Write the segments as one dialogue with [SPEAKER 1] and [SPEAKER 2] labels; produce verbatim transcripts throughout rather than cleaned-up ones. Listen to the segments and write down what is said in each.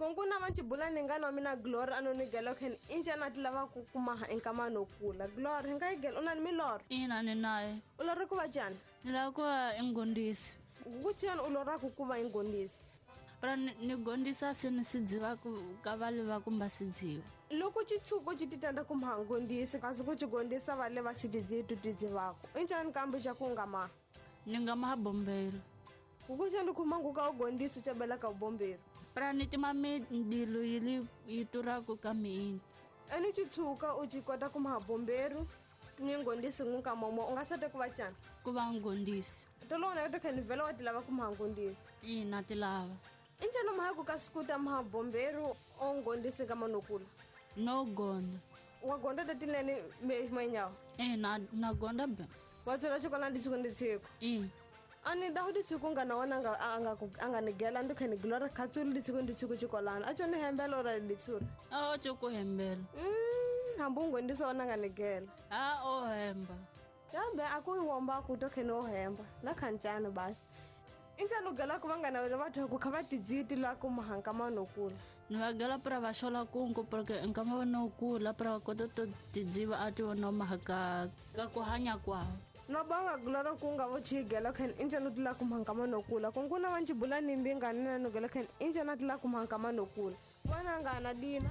[SPEAKER 1] Konkuna manchibula ningana mina Glory anonigelo ken injana tilava kukumaha enkamano kula. Glory ngayigel unani milor.
[SPEAKER 2] Ina ninaye.
[SPEAKER 1] Ulora kuva jani?
[SPEAKER 2] Nilava kuva ingondisi.
[SPEAKER 1] Kuchani ulora kukuva ingondisi?
[SPEAKER 2] Pra nigondisa sini sidziva ka vale va kumba sidziva.
[SPEAKER 1] Loko chitsuko chititanda kumhangondisi kasi kuchigondisa vale va sidzidzitu tidzivako. Injani kambe xa kungama?
[SPEAKER 2] Ningamaha bombero.
[SPEAKER 1] Kukuchani kumanguka ugondisi chabela ka bombero.
[SPEAKER 2] Pra nitima mindilo yili yituraku ka miinti.
[SPEAKER 1] Eni chitsuka uchikota kumaha bombero ningondisi ngunka momo ungasate kuva chani?
[SPEAKER 2] Kuva ngondisi.
[SPEAKER 1] Tolona yoto khenivela wa tilava kumaha ngondisi.
[SPEAKER 2] Ina tilava.
[SPEAKER 1] Injani maha kukasikuta maha bombero ongondisi kamanokula?
[SPEAKER 2] No gonda.
[SPEAKER 1] Wagonda tatinene menyawo?
[SPEAKER 2] Eh na na gonda be.
[SPEAKER 1] Watswela xikola nditsiko nditsiko.
[SPEAKER 2] Eh.
[SPEAKER 1] Ani dahu ditsiko ngana wana anga anga anga nigela ndukheni Glory khatsulu ditsiko nditsiko xikolana. A tsho ni hembela ora ditsura?
[SPEAKER 2] A tsho ku hembela.
[SPEAKER 1] Mm, hambu ngondisa wana nga nigela.
[SPEAKER 2] A o hemba.
[SPEAKER 1] Kambe a ku womba ku to kheni o hemba. Na khanchana basi. Injani ugela ku vangana vele vathu ku kha va tidziti la ku mahanka manokula?
[SPEAKER 2] Ni va gela pra va xola kungu porque nkama va nokula pra va kota to tidziva a ti vona mahaka ka ku hanya kwawo.
[SPEAKER 1] Na banga Glory kunga vo chigela khen injani tila ku mahanka manokula. Konkuna va nchibula ni mbingani na nogela khen injani tila ku mahanka manokula. Vana ngana dina.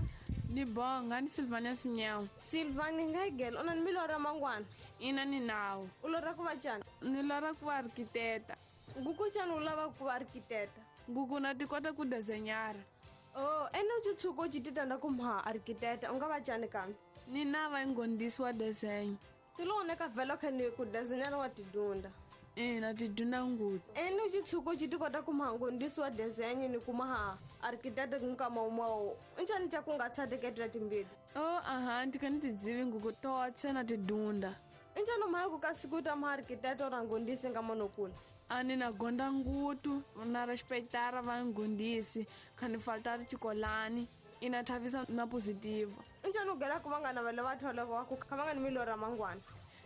[SPEAKER 3] Ni bonga ni Silvania Simnyawo.
[SPEAKER 1] Silvani ngayigela una ni milora mangwana?
[SPEAKER 3] Ina ni nawo.
[SPEAKER 1] Ulora ku va chani?
[SPEAKER 3] Ni lora ku va architecta.
[SPEAKER 1] Nguku chani u lava ku va architecta?
[SPEAKER 3] Nguku na ti kota ku desenyara.
[SPEAKER 1] Oh, ene u tshuko chititanda ku maha architecta u nga va chani kambe?
[SPEAKER 3] Ni na va ngondisi wa desenyo.
[SPEAKER 1] Tilone ka vhela khani ku desenyara wa tidunda.
[SPEAKER 3] Ina tidunda ngutu.
[SPEAKER 1] Ene u tshuko chitikota ku maha ngondisi wa desenyo ni ku maha architecta nkama umao. Injani cha ku nga tshateketela timbili?
[SPEAKER 3] Oh, aha, ndikani tidzivi nguku totse na tidunda.
[SPEAKER 1] Injani maha ku kasikuta maha architecta ora ngondisi ngamanokula?
[SPEAKER 3] Ani na gonda ngutu, na respeitar va ngondisi, khani faltar chikolani, ina thavisa na positiva.
[SPEAKER 1] Injani ugela ku vangana vale vathu lava ku kha vangani milora mangwana?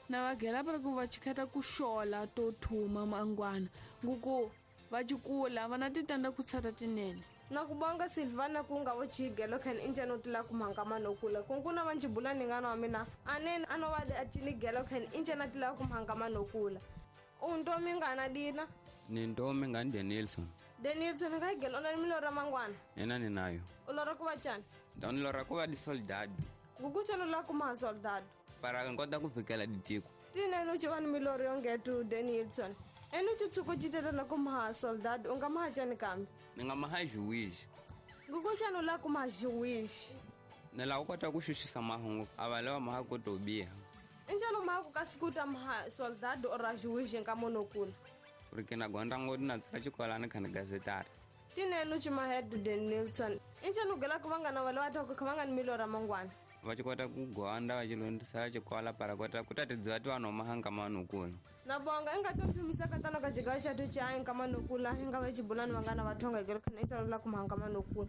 [SPEAKER 3] Na va gela para ku va chikheta ku xola to thuma mangwana. Nguku va chikula va na titanda ku tshata tinene.
[SPEAKER 1] Na ku bonga Silvana ku nga vo chigelo khen injani u tila ku mhanga manokula. Konkuna va nchibula ningana wa mina anene ano va a chinigelo khen injani a tila ku mhanga manokula. Untomi ngana dina?
[SPEAKER 4] Ni ntomi ngani Denilson.
[SPEAKER 1] Denilson ngayigela una ni milora mangwana?
[SPEAKER 4] Ina ninayo.
[SPEAKER 1] Ulora ku va chani?
[SPEAKER 4] Ndani ku va di soldado.
[SPEAKER 1] Nguku chani ula ku maha soldado?
[SPEAKER 4] Para nkota ku fikela ditiko.
[SPEAKER 1] Tinene u chiva ni miloro yongetu Denilson. Ene u tshuko chiteta na ku maha soldado u nga maha chani kambe?
[SPEAKER 4] Ni nga maha juiz.
[SPEAKER 1] Nguku chani ula ku maha juiz?
[SPEAKER 4] Ni lava ku kota ku xuxisa mahungu a va lava maha ku to biha.
[SPEAKER 1] Injani maha ku kasikuta maha soldado ora juiz nkamonokula?
[SPEAKER 4] Porque na gonda ngodi na tsala xikolani khani gazetara.
[SPEAKER 1] Tinene u chimahedu Denilson. Injani ugela ku vangana vale vathu ku kha vangani milora mangwana?
[SPEAKER 4] Va chikota ku gonda va chilondzisela xikola para kota ku ta tidziva ti vanhu maha nkamanokula.
[SPEAKER 1] Na bonga i nga to thumisa katano ka xigayo xa tu cha nkamanokula i nga va xibulani vangana va thonga hikelo khani injani ula ku maha nkamanokula.